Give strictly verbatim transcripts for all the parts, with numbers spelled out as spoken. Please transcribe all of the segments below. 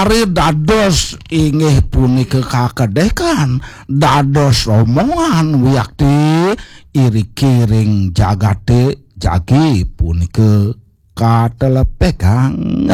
Ari dados inggih punika kakedekan, dados omongan wiakti iriki ring jagate jagi punika katelepegang.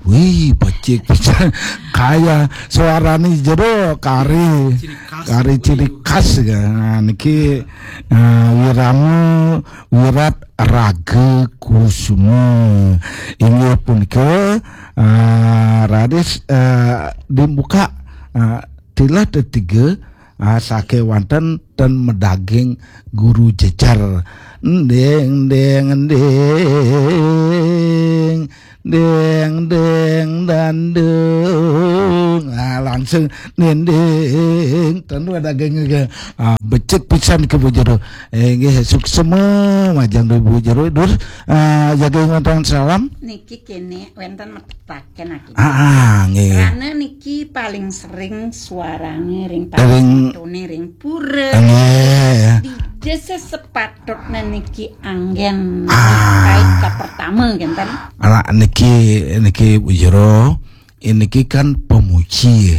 Wih, becik pisan. Kaya suarane jero kari, kari ciri khas ya. Niki eh, Wirama Wirat Raga Kusuma. Inggih punika eh, raris eh, dibuka eh, tilah tetiga ah, sakewanten ten medaging guru jejer. Nding, nding, nding, nding, nding, dandung. Ah, langsung dinding. Ten medaging juga. Ah, becik pisan ke Bu Jero. Eh, nggih, suksema majeng Bu Jero. Dur, ah, jaga ingat salam. Niki kene wenten metetaken aki. Ah, ah, nggih. Karena niki paling sering suarane ring Ring- paling ring pura. Nggih. Dija sesepatutne niki anggen Ah. Kait ka pertama kenten. Anak niki niki Bu Jero, niki kan pemuji.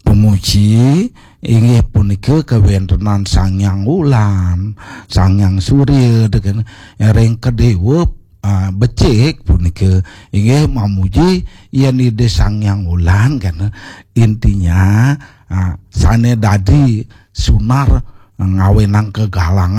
Pemuji inggih punika kawentenan Sang Hyang Wulan, Sang Hyang Surya deken ring kedewa ah, becik punika inggih mamuji yen Ida Sang Hyang Wulan kan intinya ah, sane dadi sunar ngawenang kegalangan